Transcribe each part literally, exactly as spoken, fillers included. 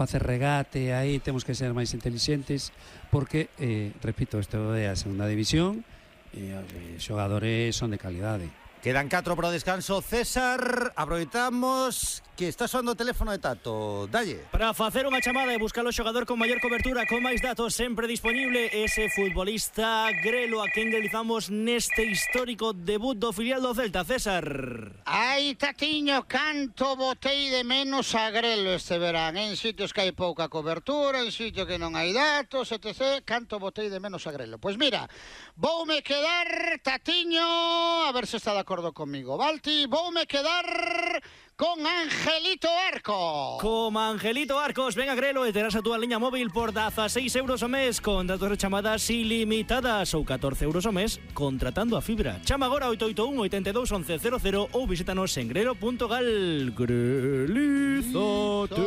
facer regate aí, temos que ser máis intelixentes, porque, eh, repito, isto é a segunda división, e os xogadores son de calidade. Quedan catro para o descanso. César, aproveitamos que está soando o teléfono de Tato. Dalle. Para facer unha chamada e buscar o xogador con maior cobertura, con máis datos, sempre disponible ese futbolista Grelo a quen realizamos neste histórico debut do filial do Celta. César. Ai, Tatiño, canto botei de menos a Grelo este verán. En sitios que hai pouca cobertura, en sitios que non hai datos, etcétera. Canto botei de menos a Grelo. Pois mira, voume quedar, Tatiño, a ver se está de acordo comigo, Balti, voume quedar con Angelito Arcos. Como Angelito Arcos, ven a Grelo e terás a túa liña móvil por dieciséis euros ao mes con datos de chamadas ilimitadas ou catorce euros ao mes contratando a fibra. Chama agora oito oito un, oito dos, once cero cero ou visítanos en grelo punto gal. Grelízate.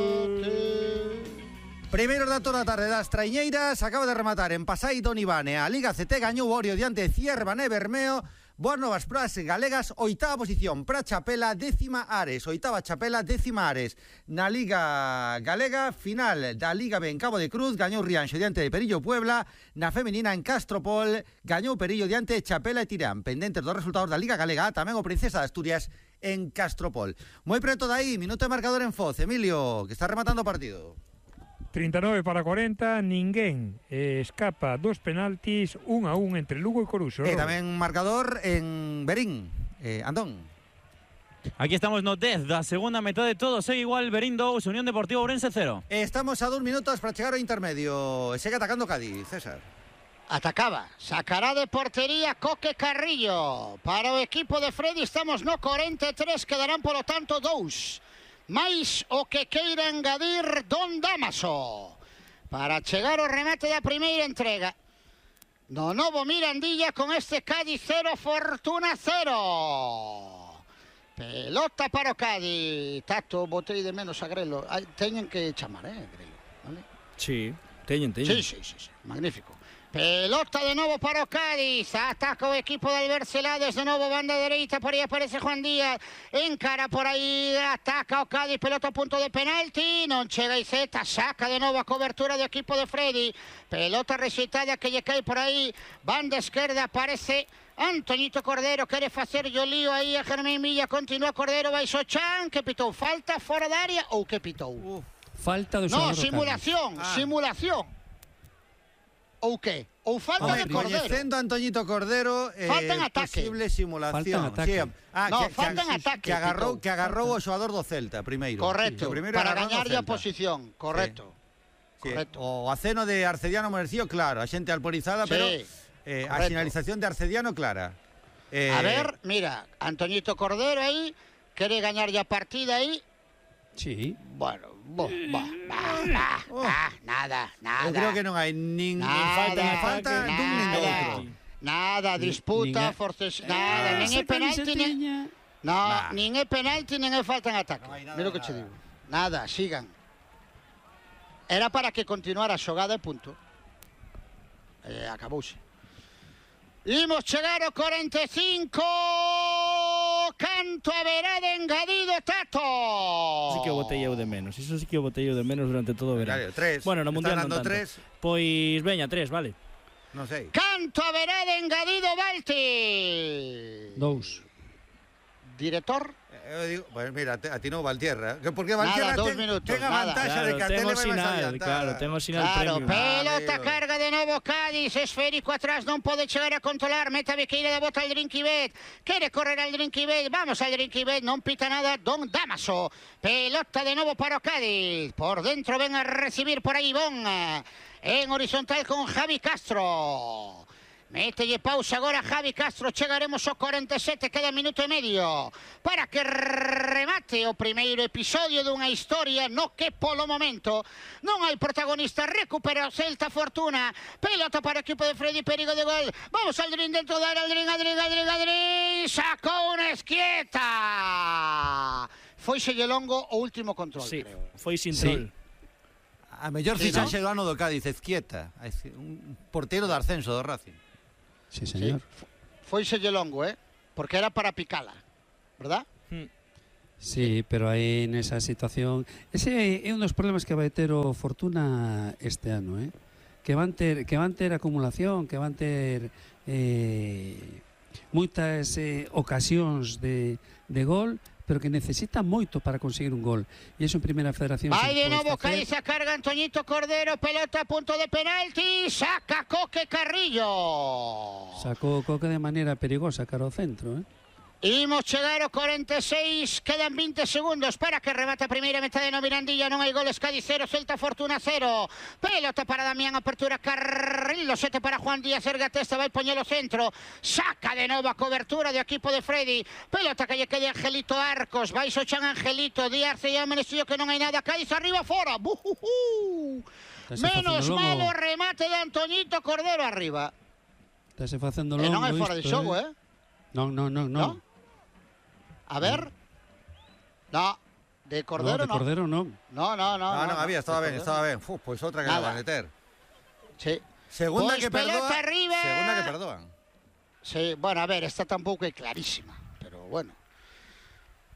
Primeiros datos da tarde das traiñeiras. Acaba de rematar en Pasai Don Ivane. A Liga C T gañou Orio diante de Ciervane Bermeo. Boas novas pras galegas, oitava posición para Chapela, décima Ares, oitava Chapela, décima Ares. Na Liga Galega, final da Liga B en Cabo de Cruz, gañou Rianxo diante de Perillo Puebla. Na femenina en Castropol, gañou Perillo diante de Chapela e Tirán. Pendentes dos resultados da Liga Galega, tamén o Princesa de Asturias en Castropol. Moi preto de aí, minuto de marcador en Foz. Emilio, que está rematando o partido. trinta e nove para cuarenta, ninguén eh, escapa dos penaltis, un a un entre Lugo e Coruxo. E tamén marcador en Berín, eh, Andón. Aquí estamos no dez da segunda metade, todo segue igual, Berín dous, Unión Deportiva Ourense cero. Estamos a dos minutos para chegar ao intermedio. Segue atacando Cádiz, César. Atacaba, sacará de portería Coque Carrillo. Para o equipo de Freddy estamos no cuarenta e tres, quedarán polo tanto dous. Mais o que queira engadir Don Damaso para chegar ao remate da primeira entrega no novo Mirandilla con este Cádiz cero, Fortuna cero. Pelota para o Cádiz. Tato, botei de menos a Grelo. Ay, teñen que chamar, eh, Grelo, vale? Sí, teñen, teñen. Sí, sí, sí, sí. Magnífico. Pelota de novo para o Cádiz. Ataca o equipo de Albert Celades. De novo banda dereita. Por aí aparece Juan Díaz. Encara por aí. Ataca o Cádiz. Pelota a punto de penalti. Non chega Iceta. Saca de novo a cobertura do equipo de Freddy. Pelota rexeitada que lle cae por aí. Banda esquerda aparece Antoñito Cordero. Quere facer yo lío aí a Germán Milla. Continúa Cordero. Baixo Chan. Que pitou? Falta fora da área ou que pitou? Uh, Falta do No, xogador do simulación. Ah. Simulación. Ou que? Ou falta Hombre, de Cordero. coñecendo a Antoñito Cordero, eh, Falta en ataque. posible simulación. Falta en ataque. Sí, ah, No, que, falta que, en ataque, que agarrou, Tito. que agarrou o xogador do Celta primeiro. Correcto, Sí, o primeiro para agarrou no gañarlle a Celta. posición, correcto. Sí, Correcto. o aceno de Arcediano Merecio, claro, a xente alporizada, Sí, pero eh, a correcto. sinalización de Arcediano, clara. Eh, A ver, mira, Antoñito Cordero aí, quere gañarlle a partida aí. Sí. Bueno, bo, bo, bah, bah, Oh. bah, nada, nada. eu creo que non hai nin, nin Nada, falta, nin falta nada, dun nin do outro. Nada, disputa, nin é- forces, nada, nin é penalti, nin... No, Nah. nin é penalti, nin é falta en ataque. Non hai nada Mira o de que che nada. digo. Nada, sigan. Era para que continuara a xogada e punto. E acabouse. Imos chegar ao cuarenta e cinco. Canto haberá de engadido Tato. Sí que o botei eu de menos. Iso sí que o botei eu de menos durante todo o verán. Claro, tres. Bueno, no Está Mundial non dando tanto. tres. Pois veña, tres, vale. Non sei. Canto haberá de engadido Balti. Dous. Director. Eu digo, pues mira, a ti non Valtierra. Que porque Valtierra Nada, dous ten, minutos, ten a nada. vantaxa Claro, de que a tele tengo vai máis sinal, adiantada. claro, tengo sinal Claro, premium. pelota Amigo. carga de novo Cádiz, esférico atrás, non pode chegar a controlar, meta a Viqueira da bota al Drinkibet, quere correr al Drinkibet, vamos al Drinkibet, non pita nada Don Damaso, pelota de novo para o Cádiz, por dentro ven a recibir por aí Bon, en horizontal con Javi Castro. Mételle pausa agora Javi Castro, chegaremos ao cuarenta e sete, queda minuto e medio para que remate o primeiro episodio dunha historia no que polo momento non hai protagonista. Recupera o Celta, Fortuna, pelota para o equipo de Freddy, perigo de gol, vamos Aldrin dentro da área, Aldrin, Aldrin, Aldrin, Aldrin, sacou unha esquieta, foiselle longo o último control, Sí, creo. foi sin Sí. troll. A mellor Sí, fichaxe do ano do Cádiz, Ezquieta, un portero de ascenso do Racing. Sí, señor. Sí, foiselle longo, eh, porque era para picala, verdad? Sí, pero aí nesa situación, ese é un dos problemas que vai ter o Fortuna este ano, eh? Que van ter que van ter acumulación, que van ter eh, moitas eh, ocasións de, de gol, pero que necesita moito para conseguir un gol. E iso en Primeira Federación. Vai de novo Cádiz, a carga Antoñito Cordero, pelota a punto de penalti, saca Coque Carrillo. Sacou o Coque de maneira perigosa cara ao centro, eh? Imos chegar ao cuarenta e seis, quedan veinte segundos para que remate a primeira metade no Mirandilla, non hai goles, Cádiz cero, Celta Fortuna cero. Pelota para Damián, apertura Carrillo, sete para Juan Díaz, erga testa, vai poñelo centro, saca de novo a cobertura do equipo de Freddy, pelota que lle quede Angelito Arcos, vai Sochan Angelito, Díaz e Amenestillo que non hai nada, Cádiz arriba fora, buhuhu. Menos malo remate de Antoñito Cordero arriba. Estase facendo longo. E non é fora de isto, xogo, eh? eh? Non, non, non, non. ¿No? A ver. No, de Cordero no. De Cordero non. No, no, no. No, non había, estaba ben, estaba ben. Uf, pois outra que le van a meter. Sí. Segunda Pois que perdoa. arriba. Segunda que perdoan. Sí, bueno, a ver, esta tampouco é clarísima, pero bueno.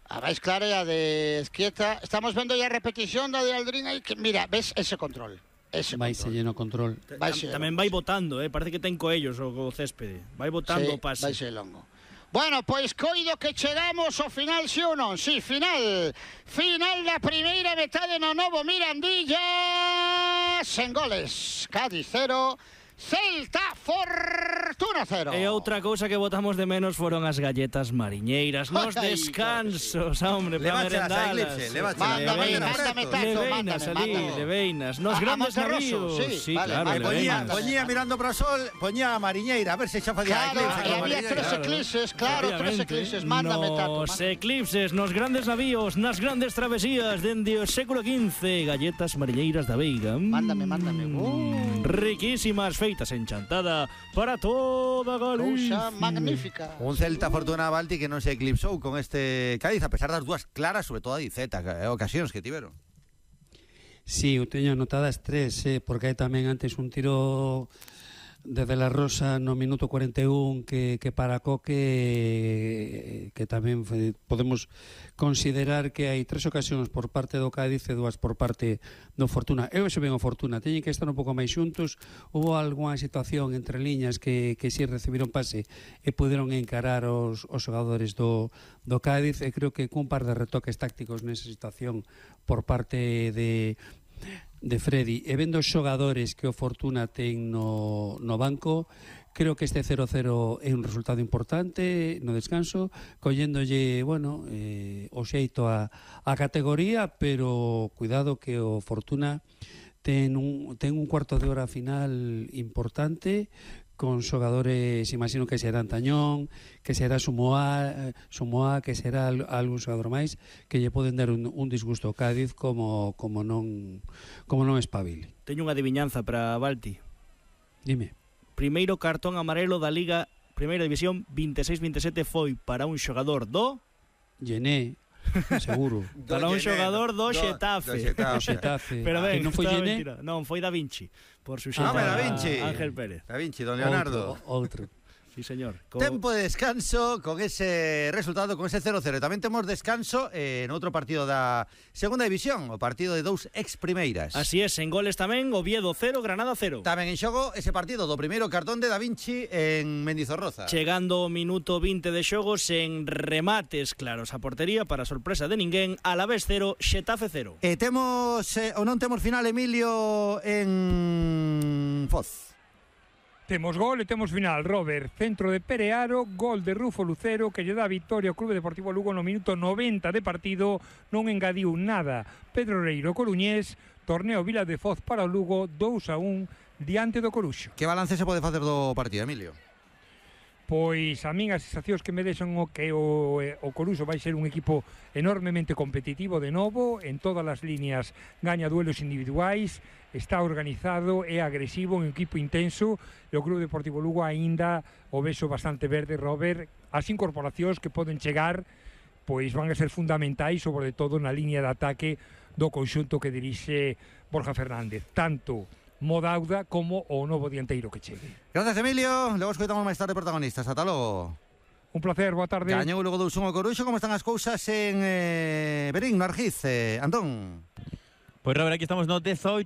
A máis clara é a de Esquieta. Estamos vendo ya a repetición da de Aldrin aí que mira, ves ese control. Ese vai se lleno control. Tam, tamén vai botando, eh, parece que ten coellos o, o céspede. Vai botando o sí, pase. Vai ser longo. Bueno, pois coido que chegamos ao final, si ou non? Si, final. Final da primeira metade no novo Mirandilla. Sen goles. Cádiz cero. Celta Fortuna cero. E outra cousa que botamos de menos foron as galletas mariñeiras nos Ay, descansos, hombre, para merendalas. Mándame, mándame tazo, leveinas ali, leveinas, nos A- a grandes Monterroso, navíos. sí, Sí, vale, claro, vale, Poñía, leveinas. poñía mirando para o sol, poñía a mariñeira, a ver se xa facía Claro, eclipse e con a había mariñeira. tres eclipses, claro, tres Obviamente. eclipses. Mándame tazo. Nos eclipses, nos grandes navíos, nas grandes travesías dende o século quince, galletas mariñeiras da Veiga. Mm, Mándame, mándame. Uh. Riquísimas, feitas en chantada para toda Galicia. Cousa magnífica. Un Celta Fortuna Balti que non se eclipsou con este Cádiz, a pesar das dúas claras, sobre todo a Diceta, eh, ocasións que tiveron. Sí, eu teño anotadas tres, eh, porque hai tamén antes un tiro de De La Rosa no minuto cuarenta e un que, que para Coque, que tamén foi, podemos considerar que hai tres ocasións por parte do Cádiz e dúas por parte do Fortuna. Eu xe ben o Fortuna, teñen que estar un pouco máis xuntos. Houve algunha situación entre liñas que, que si recibiron pase e puderon encarar os, os xogadores do, do Cádiz, e creo que cun par de retoques tácticos nesa situación por parte de de Freddy, e vendo os xogadores que o Fortuna ten no, no banco, creo que este cero cero é un resultado importante no descanso, colléndolle, bueno, eh, o xeito a, a categoría, pero cuidado que o Fortuna ten un, ten un cuarto de hora final importante, con xogadores, imagino que será Antañón, que será Sumoa, Sumoa que será algún xogador máis, que lle poden dar un, un disgusto ao Cádiz como, como non como non espabile. Teño unha adiviñanza para Balti. Dime. Primeiro cartón amarelo da Liga Primeira División veintiséis veintisiete foi para un xogador do Llené, seguro. para un xogador do Xetafe. Do Xetafe. Pero ben, que non foi estaba Llené? mentira. Non, foi Da Vinci. Por su Ah, Da Vinci. Ángel Pérez. Da Vinci, don Leonardo. Outro, outro. Sí, señor. Co... Tempo de descanso con ese resultado, con ese cero cero. Tamén temos descanso eh, en outro partido da Segunda División, o partido de dous ex primeiras. Así es, en goles tamén, Oviedo cero, Granada cero. Tamén en xogo ese partido do primeiro cartón de Da Vinci en Mendizorroza. Chegando o minuto veinte de xogo sen remates claros a portería para sorpresa de ninguén, Alavés cero, Xetafe cero. E temos, eh, ou non temos final, Emilio, en Foz. Temos gol e temos final. Robert, centro de Perearo, gol de Rufo Lucero que lle dá a victoria ao Clube Deportivo Lugo no minuto noventa de partido, non engadiu nada. Pedro Reiro Coruñés, torneo Vila de Foz para o Lugo, dous a un diante do Coruxo. Que balance se pode facer do partido, Emilio? Pois a min as sensacións que me deixan o que o, o Coruxo vai ser un equipo enormemente competitivo de novo, en todas as líneas gaña duelos individuais, está organizado, é agresivo, un equipo intenso, e o Clube Deportivo Lugo aínda o vexo bastante verde, Robert. As incorporacións que poden chegar pois van a ser fundamentais, sobre todo na liña de ataque do conxunto que dirixe Borja Fernández, tanto Modauda como o novo dianteiro que chegue. Gracias, Emilio. Logo escoitamos máis tarde protagonistas. Ata logo. Un placer, boa tarde. Gañou logo dous un o Coruxo. Como están as cousas en eh, Verín, no Argiz, eh, Antón? Pois, Robert, aquí estamos no dezaoito